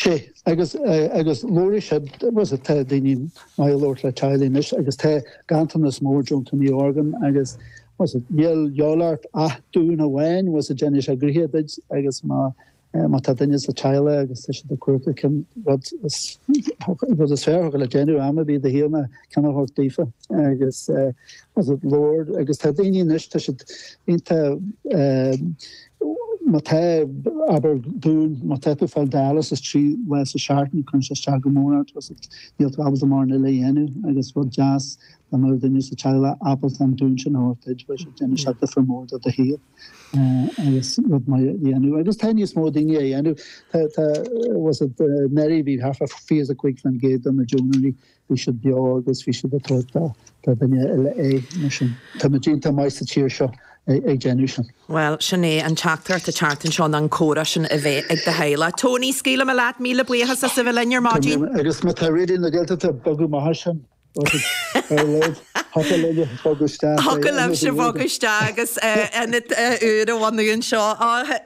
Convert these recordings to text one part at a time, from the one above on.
Sea, agus, agus labhraigh siad, bhuel tá daoine maith ag labhairt le teaghlaigh anois agus tá ganntanas mór deontóirí orgán agus, bhuel, níl de dhíobháil ort ach dún amháin, bhuel, déanfaidh sé gnoithe duit agus má, má tá duine sa teaghlach agus tá siad ag cuartú cén rud is, rud is fearr a thiocfadh le déanamh am ar bith i do shaol ná ceann a thabhairt daofa agus, bhuel, labhair agus tá daoine anois, tá siad iontach, Má tá, abair, dún, má tá tú ag fáil dialysis 3 lá sa seachtain, cuireann sé isteach go mór ort, agus níl tú ábalta mórán eile a dhéanamh agus rud deas dá mbeadh duine sa teaghlach ábalta an dún sin a thabhairt duit, bheadh sé, déanfaidh sé difear mór do do shaol agus rud maith a dhéanamh. Agus tá níos mó daoine á dhéanamh. Tá, tá, was it, anuraidh bhí thart fá 25% de na deonóirí Bhí siad beo agus bhí siad ag tabhairt do dhuine eile é, mar sin tá muid iontach maith sa tír seo ag déanamh sin. Bhuel, sin é an teachtaireacht an tseachtain seo ná an comhrá sin a bheith ag do theaghlach. Tony, scaoilfidh mé leat, míle buíochas as a bheith linn ar maidin. Agus má tá Raidió na Gaeltachta ag bogadh amach as sin, ar a laghad, thiocfadh linn bogadh isteach. Thiocfadh libhse bogadh isteach agus ionad úr a bhunú anseo.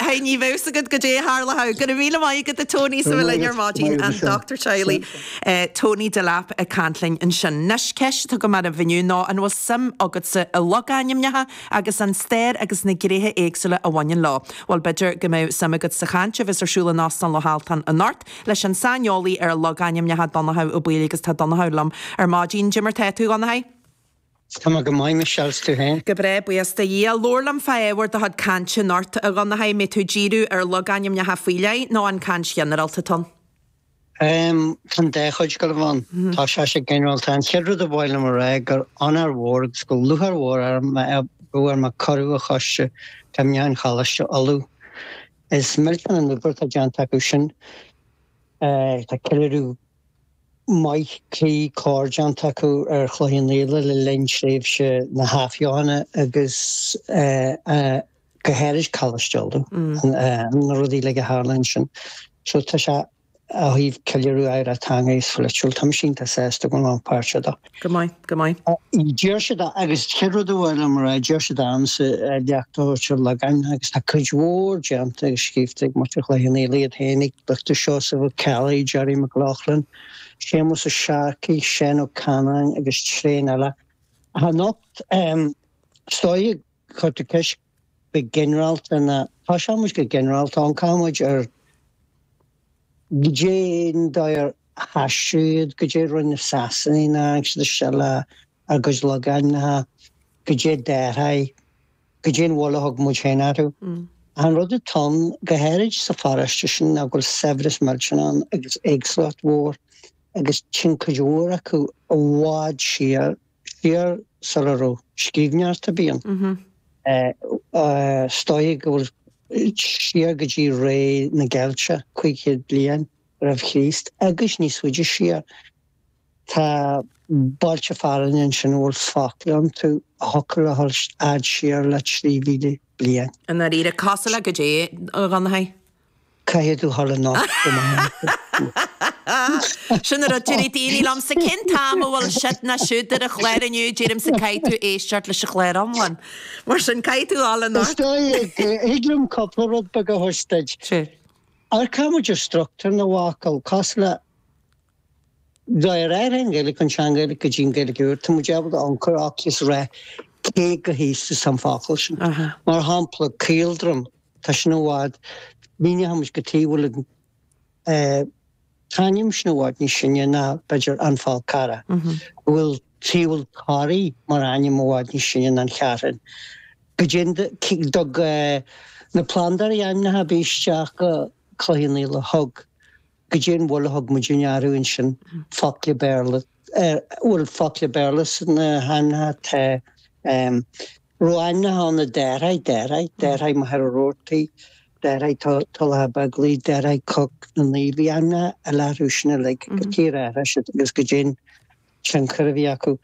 Hey, ní bheadh fhios agat goidé a tharlódh. Go raibh míle maith agat a Tony as a bheith linn ar maidin, an dochtúir teaghlaigh. Tony Delap ag caint linn ansin. Anois, ceist atá agam oraibh inniu ná an bhfuil suim agatsa i logainmneacha agus an stair agus na gnéithe éagsúla a bhaineann leo? Bhuel, b'fhéidir go mbeadh suim agat sa chaint a bheas ar siúl in Óstán Loch Altan anocht leis an saineolaí ar logainmneacha Donnchadh Ó Baoill agus tá Donnchadh liom ar maidin. Goidé mar tá tú, a Dhonnchaidh? Tá mé go maith, Michelle, 's tú féin? Go breá, buíochas do Dhia. Labhair liom fá ábhar do chuid cainte anocht, a Dhonnchaidh. Mbeidh tú ag díriú ar logainmneacha faoi leith nó an caint ghinearálta atá ann? Tá an dá chuid ag gabháil a bheith ann. Tá sé sé ginearálta. An chéad rud a ba mhaith liom a rá gur onóir mhór agus gur lúcháir mhór orm a go bhfuair mé cuireadh ó Choiste Cuimhneacháin Choláiste Uladh. Is millteanach an obair atá déanta acu sin. Tá ceiliúradh maith cuí cóir déanta acu ar Chloich Cheann Fhaola le linn tréimhse na hAthbheochana agus go háirid Coláiste Uladh, na rudaí uilig a tharla ansin. So tá sé ó thaobh ceiliúradh oidhreacht teanga is pholaitiúil, tá mise iontach sásta go bhfuil mé páirteach dó. Go maith, go maith. D'iarr siad, agus chéad rud a ba mhaith liom a rá, d'iarr siad ormsa léacht a thabhairt ar logainmneacha agus tá cuid mhór déanta agus scríobhta ag muintir Chloich Cheann Fhaola iad féinig, Dr Seosamh Ó Ceallaigh, Gerry McLaughlin, Séamus Ó Searcaigh, Seán Ó Canáin agus tréan eile. Ach anocht, is dóigh, Chuir tú ceist go ginearálta ná toiseoidh muid go ginearálta, amharcfaidh muid ar goidé an dóigh ar haistriú iad, goidé a rinne na Sasanaigh nuair a tháinig siad isteach le ár gcuid logainmneacha, goidé d'athraigh, goidé an mhoill a thug muid féin orthu. An rud atá ann, go háirid sa pharóiste sin, ná go bhfuil saibhreas millteanach ann agus éagsúlacht mhór agus téann cuid mhór acu i bhfad siar siar sula raibh scríbhneoireacht ar bith ann. Is dóigh go bhfuil siar go dtí ré na gCeilteach, 500 bliain roimh Chríost, agus níos faide siar. Tá bailte fearainn ansin a bhfuil focla iontu a thiocfadh a dhul fhad siar le 3,000 bliain. I ndáiríre, cosúil le goidé, a Dhonnchaidh? Caithfidh tú dhul anocht go maith. Sin an rud, deir daoine liomsa, cén t-am a bhfuil siad ná siúd ar an chlár inniu, deirimse caithfidh tú éisteacht leis an chlár iomlán. Mar sin, caithfidh tú dhul anocht. Is dóigh, thig liom cúpla rud beag a thabhairt duit. Sure. Amharcann muid ar struchtúr na bhfocal, cosúil le dá réir an Ghaeilge, an tSean-Ghaeilge go dtí an Ghaeilge úr, tá muid ábalta amharc agus rá cé chomh haosta is an focal sin. Mar shampla, caoldroim. Tá sin i bhfad, míneoidh muid cad chuige a bhfuil an t-ainm sin i bhfad níos sine ná, b'fhéidir, An Fál Carrach. Go bhfuil tuige a bhfuil Toraigh mar ainm i bhfad níos sine ná an Cheathrún. Go dtug na plandóirí ainmneacha a bhí isteach go Cloich Cheann Fhaola, thug. Goidé an mhoill a thug muidinne orthu ansin, focla Béarla, bhfuil focla Béarla sna hainmneacha, tá raibh ainmneacha ann a d'athraigh, d'athraigh, d'athraigh Machaire Rabhartaigh, d'athraigh Tulach Beaglaoich, d'athraigh Coc na Naomh, bhí ainmneacha eile orthu sin uilig, cad chuige ar athraigh siad agus goidé an tionchar a bhí acu.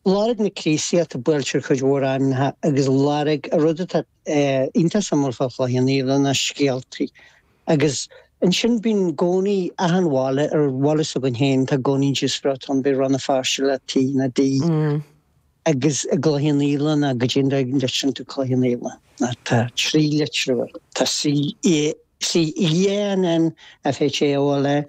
Lorg na Críostaíochta buailte ar chuid mhór ainmneacha agus lorg, an rud atá iontach suimiúil fá Chloich Cheann Fhaola ná scéaltaí Agus ansin bíonn i gcónaí achan bhaile, ar bhaile s'againn féin, tá i gcónaí díospóireacht ann, beidh Rann na Feirste le T nó D. Agus i gCloich Cheann Fhaola ná goidé an dóigh a litríonn tú Cloich Cheann Fhaola? Ná tá trí litriú air, tá C, A. C E N N F H A O L A.